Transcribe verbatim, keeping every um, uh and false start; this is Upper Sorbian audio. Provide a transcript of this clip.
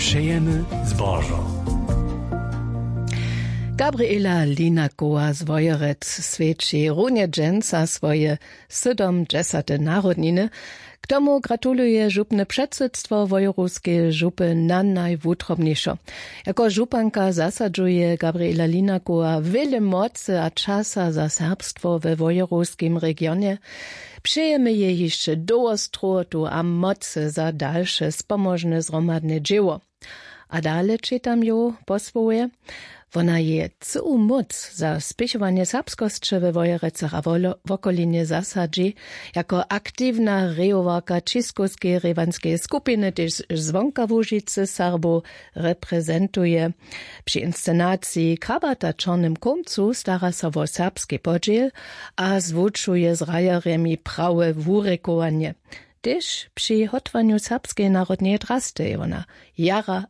Přejemy zbožo. Gabriela Linakowa z Wojerec swjeći runje dźensa swoje sydomdźesate narodniny. K tomu gratuluje župne předsydstwo Wojerowskeje župy na najwutrobnišo. Jako županka zasadźuje Gabriela Linakowa wjele mocy a časa za serbstwo we Wojerowskim regionje. Přejemy jej hišće dołho strowotu a mocy za dalše spomožne zhromadne dźěło. A dale čitam jow po słowje: Wona je cyłu móc za spěchowanje serbskosće we Wojerecach a wolo- wokolinje zasadźi. Jako aktiwna rejowarka Ćiskowskeje rěwanskeje skupiny tež zwonka Łužicy Serbow reprezentuje. Při inscenaciji Krabata w Čornym Kómcu stara so wo serbski podźěl a zwučuje z hrajerjemi prawe wurěkowanje. Tež při hótwanju serbskeje narodneje drasty je wona jara